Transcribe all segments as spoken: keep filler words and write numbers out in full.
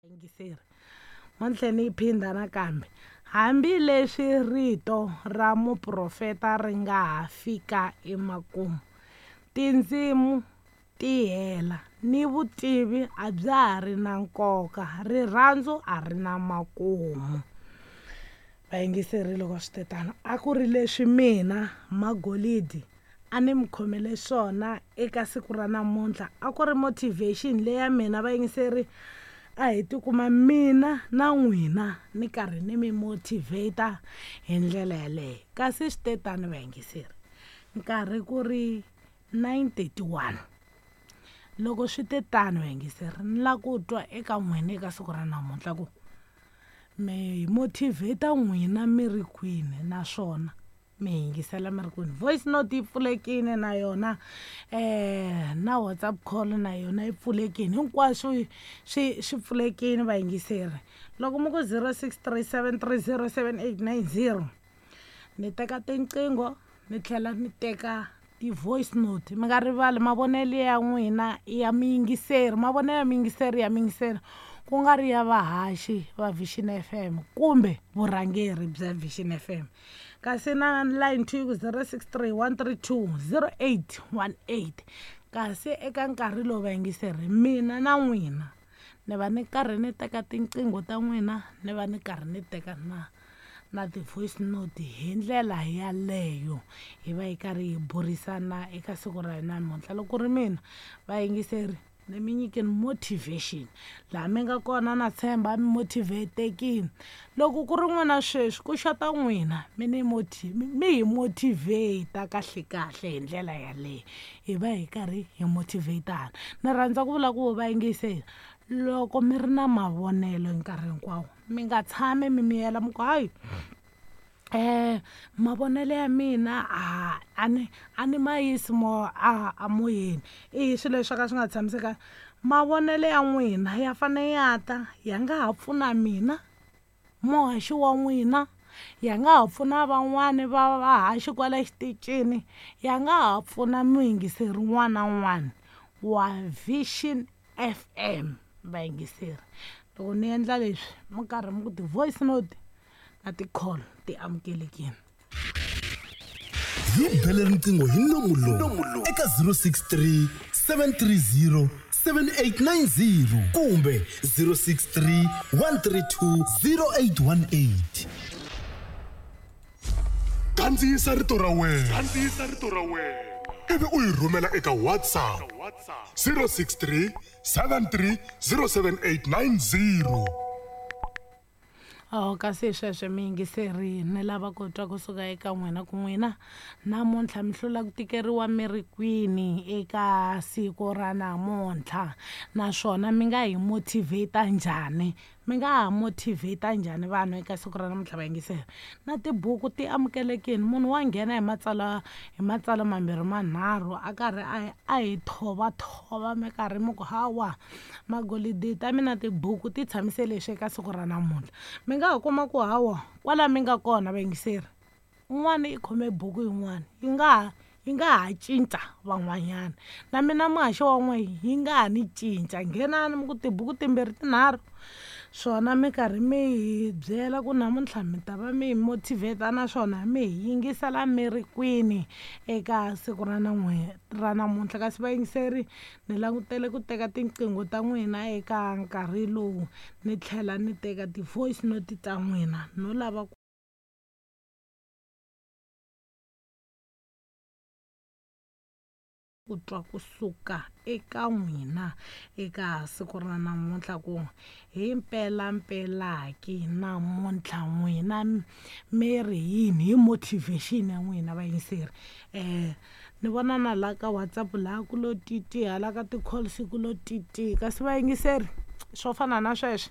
Yingiseri mo ni tlhe ni yi phindha nakambe. Hambileswi rito ra muprofeta ri nga ha fika emakumu, tindzimu ti hela ni vutivi a bya ha ri na nkoka, rirhandzu a ri na makumu. Vayingiseri loko swi tetano a ku ri leswi mina Magolidi a ni mi khomele swona eka siku ra namuntlha. A ku ri motivation leya mina vayingiseri, a hi tikuma mina na n'wina ni karhi ni mi motivate hi ndlela yaleyo. Kasi swi te tani vayingiseri, nkarhi ku ri nine thirty one. Loko swi te tano vayingiseri, ni lava ku twa eka n'wina eka siku ra namuntlha ku mi motivate n'wina mi ri kwini, naswona mi yingisela mi ri kwini. Voice note yi pfulekile na yona, um na WhatsApp call na yona yi pfulekile, hinkwaswo swi swi pfulekile vayingiseri. Loko mi ku zero six three seven three zero seven eight nine zero, ni teka tinqingho ni tlhela ni teka ti-voice note. Mi nga rivali mavonelo ya n'wina ya miyingiseri, mavonelo ya miyingiseri ya miyingiseri, ku nga ri ya vahaxi va Vision F M kumbe vurhangeri bya Vision F M. Kasi na line two ku zero six three one three two zero eight one eight. Kasi eka nkarhi lowu vayingiseri, mina na n'wina ni va ni karhi ni teka tinqingho ta n'wina, ni va ni karhi ni teka na na ti-voice note hi ndlela yaleyo, hi va hi karhi hi burisana eka siku ra hina namuntlha. Loko ku ri mina vayingiseri, ni mi nyikeni motivation laha mi nga kona, na tshemba mi motivatekile. Loko ku ri n'wina sweswi ku xota n'wina, mi ni moti-, mi hi motivate kahle kahle hi ndlela yaleyo, hi va hi karhi hi motivatana. Ni rhandza ku vula ku vayingiseri, loko mi ri na mavonelo hi nkarhi hinkwawo, mi nga tshami mi miyela mi ku hayi, eh mavonelo ya mina a a ni a ni ma yisi mo a a moyeni, i swilo leswi swo ka swi nga tshamisekanga. Mavonelo ya n'wina ya fane ya ta, ya nga ha pfuna mina muhaxi wa n'wina, ya nga ha pfuna van'wani va vahaxi kwala xitichini, ya nga ha pfuna muyingiseri un'wana na un'wana wa Vision F M. Vayingiseri, loko ni endla leswi mi karhi mi ku ti-voice note na ti-call ti amukelekile. Hi bele riqingho hi nomu lowu eka zero six three seven three zero seven eight nine zero kumbe zero six three one three two zero eight one eight. Kandziyisa rito ra wena. Kandziyisa rito ra wena. Ivi u yi rhumela eka WhatsApp zero six three seven three zero seven eight nine zero. Oh, kasi sweswo miyingiseri, ni lava ku twa kusuka eka n'wina ku n'wina namuntlha mi hlula ku tikeriwa mi ri kwini eka siku ra namuntlha, naswona mi nga hi motivate njhani, mi nga ha motivate njhani vanhu eka siku ra namuntlha vayingiseri. Na tibuku ti amukelekile, munhu wa nghena hi matsalwa, hi matsalwa mambirhi manharhu a karhi a, a hi thovathova mi karhi mi ku hawa Magolidi ta mina tibuku ti tshamise leswi eka siku ra namuntlha. Mi nga ha kuma ku hawa kwala mi nga kona vayingiseri, un'wana i khome buku yin'wana yi nga ha, yi nga ha cinca van'wanyana, na mina muhaxi wa n'we yi nga ha ni cinca. Nghenani mi ku tibuku timbirhi tinharhu, swona mi karhi mi hi byela ku namuntlha mi ta va mi hi motivate naswona mi hi yingisela mi ri kwini eka siku ra nan'we ra namuntlha. Kasi vayingiseri, ni langutele ku teka tinqingho ta n'wina eka nkarhi lowu, ni tlhela ni teka ti-voice note ta n'wina, no lava ku ku twa kusuka eka n'wina eka siku ra namuntlha ku hi mpelampela ki namuntlha n'wina mi ri yini hi motivation ya n'wina vayingiseri. Eh, ni vona na la ka WhatsApp laha ku lo titi, hala ka ti-calls ku lo titi, kasi vayingiseri swo fana na sweswo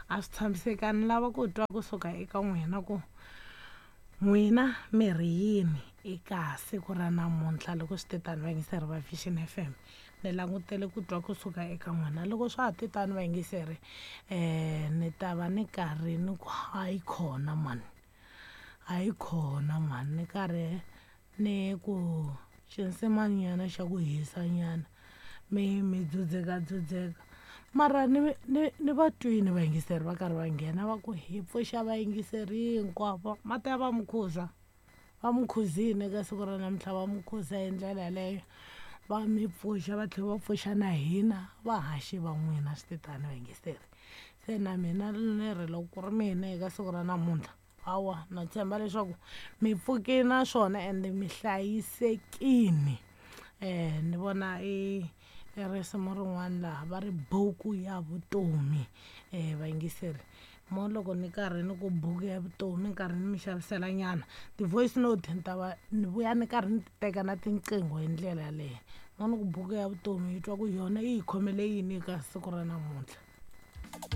a swi tshamisekanga. Ni lava ku twa kusuka eka n'wina ku n'wina mi ri yini eka siku ra namuntlha. Loko swi te tano vayingiseri va Vision F M, ni langutele ku twa kusuka eka n'wina. Loko swa ha te tano vayingiseri, eh, ni ta va ni karhi ni ku hayi khona mani, hayi khona mani, ni karhi ni ku xinsimanyana xa ku hisa nyana, mi mi dzudzeka dzudzeka. Mara ni ni ni va twini vayingiseri va karhi va nghena va ku hi pfuxa vayingiseri hinkwavo mati ya va mukhuza va mukhuzini eka siku ra namuntlha va mukhuza hi ndlela yaleyo va mi pfuxa va tlhela va pfuxa na hina vahaxi va n'wina swi titani vayingiseri. Se na mina ni ri loko ku ri mina eka siku ra namuntlha hawa na tshemba leswaku mi pfukile naswona ende mi hlayisekile. Um ni vona i i risimu rin'wana laha va ri buku ya vutomi um vayingiseri mo loko ni karhi ni ku buku ya vutomi ni karhi ni mi xavisela nyana ti-voice note ni ta va ni vuya ni karhi ni ti teka na tinqingho hi ndlela yaleyo mo ni ku buku ya vutomi yi twa ku yona yi hi khomele yini eka siku ra namuntlha.